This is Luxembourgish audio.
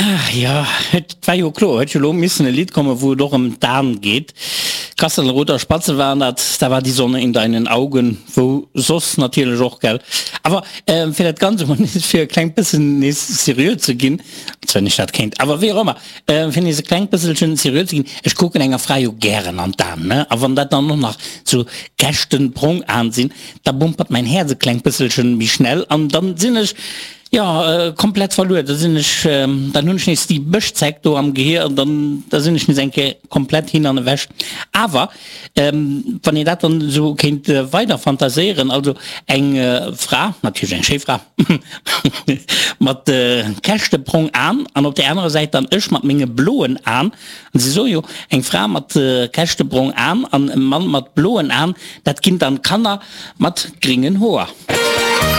Ach jo, et war jo kloer, huet jo lo missen e Lidd kommen, wou et och ëm d'An geet. Kasselruther Spatze waren dat, da war die Sonne in deinen Augen, wou soss natierlech och, gell. Awer fir dat Ganzt emol nees fir e klengt bëssen nees seriö ze ginn, als wenn ech dat kéint, awer wéi och ëmmer, fir nees e klengt bësselchen seriö ze ginn, ech kucken enger Fra jo gären an d'An, ne, a wann dat dann och nach sou käschtenbrong An sinn, da bumpert mäin Häerz e klengt bësselchen méi schnell an dann sinn ech, Jo, komplett verluer. Da sinn ech, dann hunn ech nees déi Bëschzeck do am Gehier an dann, da sinn ech nees eng Kéier komplett hin an ewech. Awer wann een dat dann esou kéint weider fantaséieren, also eng Fra, natierlech eng schéi Fra, mat käschtebrong An an op där anerer Säit dann ech mat menge bloen An, an se soe jo, eng Fra mat käschtebrong An an e Mann mat bloen An, dat ginn dann Kanner mat gringen Hoer.